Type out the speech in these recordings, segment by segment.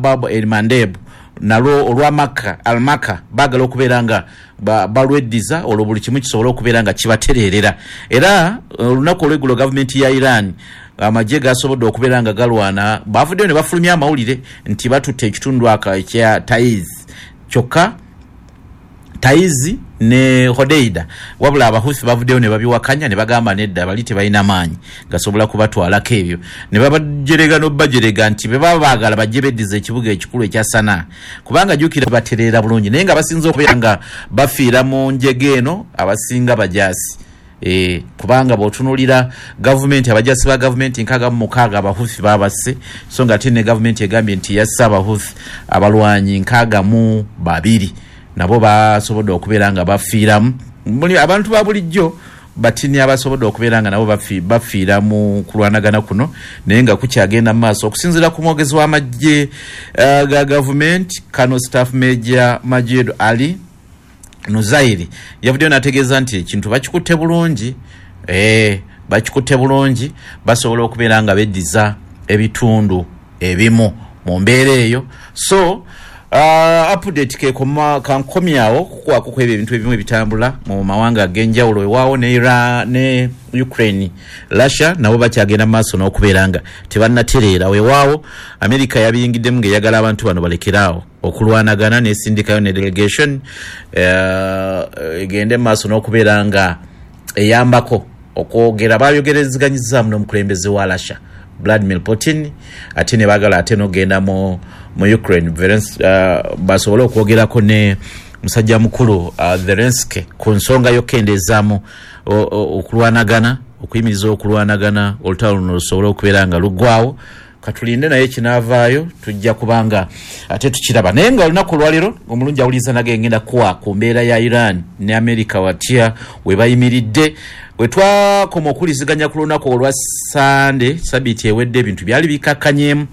Bab el Mandeb nalwo olwa Makka, Al Makka, baagala okubeera nga balweddiza olwo buli kimu kisobole okubeera nga kibatereerera. Era olunaku olw'eigulo gavumenti ya Iran amagye gasobodde okubeera nga galwana baavuddeyo ne bafulumya amawulire nti batutte ekitundu aka ekya Taiz kyokka Taiz ne Hodeida wabula Abahouthi bavuddeyo ne babiwakanya ne bagamba nedda bali tebalina maanyi gasobola kubatwalako ebyo ne babajerega n'obajerega nti bwe baba baagala bajje beddize ekibuga ekikulu ekya Sanaa kubanga jjukira batereera bulungi naye nga basinze okubeera nga bafiira mu njega eno abasinga bajaasi. Kubanga bw'otunuulira gavumenti abajaasi ba gavumenti 66 Abahouthi babasse so nga ate ne gavumenti egambye nti yasse Abahouthi abalwanyi 62 nabo basobodde okubeera nga bafiiramu. Abantu ba bulijjo batini abasobodde okubeera nga nabo bafiira mu kulwanagana kuno naye nga kukyagenda mu maaso. Okusinziira ku mwogezi w'amagye ga gavumenti Colonel Staff Major Majid Ali Nuzairi yavuddeyo n'ategeeza nti ekintu bakikutte bulungi, bakikutte bulungi basobola okubeera nga beddiza ebitundu ebimu mu mbeera eyo. So update kekoma kankomyawo kukuwaako ku ebyo ebintu ebimu ebitambula mu mawanga ag'enjawulo. Weewaawo ne Iran ne Ukraine, Russia nabo bakyagenda mu maaso n'okubeera nga tebannatereera. Weewaawo America yabiyingiddemu ng'eyagala abantu bano balekere awo okulwanagana n'esindikayo ne delegation egende mu maaso n'okubeera nga eyambako okwogera. Bayogerezeganyizaamu n'omukulembeze wa Russia Vladimir Putin ate ne baagala ate n'okugenda mu Ukraine basobole okwogerako ne musajja mukulu Zelensky ku nsonga y'okukendeezaamu okulwanagana, okuyimiriza okulwanagana olutalo luno lusobole okubeera nga luggwawo. Katulinde naye kinaavaayo tujja kubanga ate tukiraba. Naye nga olunaku olwaleero omulungi awuliriza nage ngenda kuwa ku mbeera ya Iran ne America watya we bayimiridde. Bwe twakoma okuwuliziganya ku lunaku olwa Ssande sabiiti ewedde ebintu byali bikakkanyeemu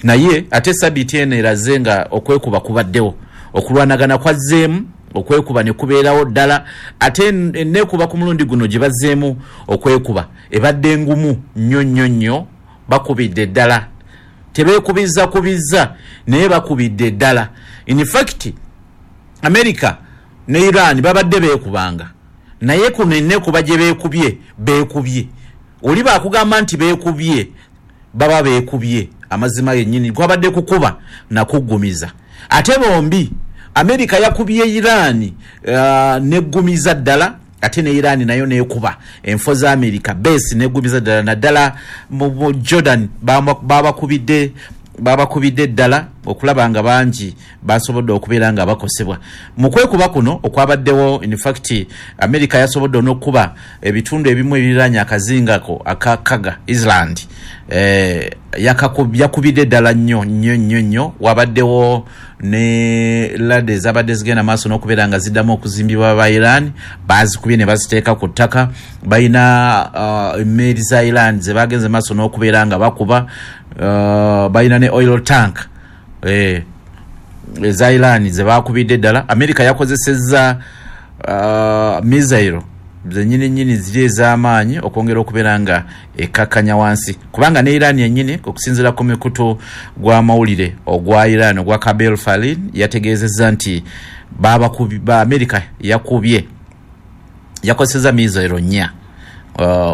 naye ate sabiiti eno eraze nga okwekuba kubaddewo, okulwanagana kwazzeemu, okwekuba ne kubeerawo ddala ate enneekuba ku mulundi guno gye bazzeemu okwekuba ebadde ngumu nnyo nnyo nnyo. Bakubidde ddala, tebeekubizza kubizza naye bakubidde ddala. In fact America ne Iran babadde beekubanga naye kuno enneekuba gye beekubye beekubye. Oli baakugamba nti beekubye baba beekubye amazima gennyini kwabadde kukuba na kuggumiza. Ate bombi America yakubye Iran n'eggumiza ddala ate ne Iran nayo n'ekuba enfo za America base n'eggumiza ddala naddala mu Jordan babakubidde babakubidde ddala okulaba nga bangi basobodde okubeera nga bakosebwa. Mu kwekuba kuno okwabaddewo in fact America yasobodde n'okukuba ebitundu ebimu ebiriraanye akazinga ako aka Kaga Island yakubidde ddala nnyo nnyo nnyo nnyo. Wabaddewo ne ladder ezabadde zigenda maaso n'okubeera nga ziddamu okuzimbibwa aba Iran baazikubye ne baziteeka ku ttaka. Balina emmeeri za Iran ze bagenze maaso n'okubeera nga bakuba, balina ne oil tank eza Iran ze baakubidde ddala. America yakozesezza missile zennyini nnyini ziri ez'amaanyi okwongera okubeera nga ekkakkanya wansi kubanga ne Iran yennyini okusinziira ku mikutu gw'amawulire ogwa Iran ogwa Kabel Falin yategeezezza nti ba America yakubye yakozesezza missile nnya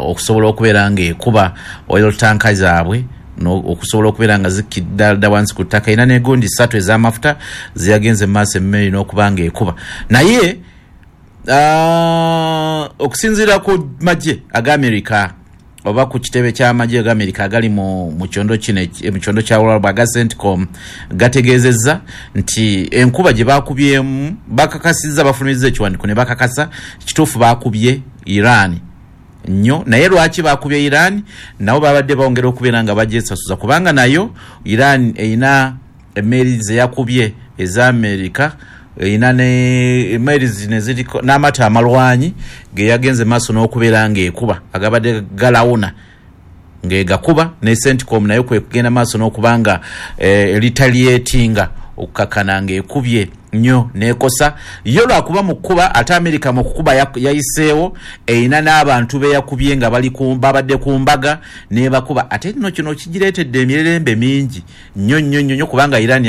okusobola okubeera ng'ekuba oil tanka zaabwe okusobola okubeera nga zikkidda wansi ku ttaka. Erina n'egundi ssatu ez'amafuta ze yagenze mu maaso emmeri n'okuba ng'ekuba. Naye okusinziira ku magye aga America oba ku kitebe ky'amagye aga America agali mu kyondo kino mu kyondo kya Buwarabu aga CENTCOM gategeezezza nti enkuba gye baakubyemu bakakasizza bafulumizza ekiwandiiko ne bakakasa kituufu baakubye Iran nnyo naye lwaki baakubye Iran nabo babadde bongera okubeera nga bagyesasuza kubanga nayo Iran erina emmeeri ze yakubye eza America erina ne emmeeri zino eziriko n'amaato amalwanyi ge yagenze maaso n'okubeera ng'ekuba agabadde galawuna ng'egakuba ne CENTCOM nayo kwe kugenda maaso n'okuba nga eritaliatinga okukakkana ng'ekubye nnyo n'ekosa yo lwakuba mu kkuba ate America mu kukuba yayiseewo erina n'abantu be yakubye nga bali babadde ku mbaga n'ebakuba ate nno kino kigireetedde emirerembe mingi nnyo nnyo nnyo kubanga Iran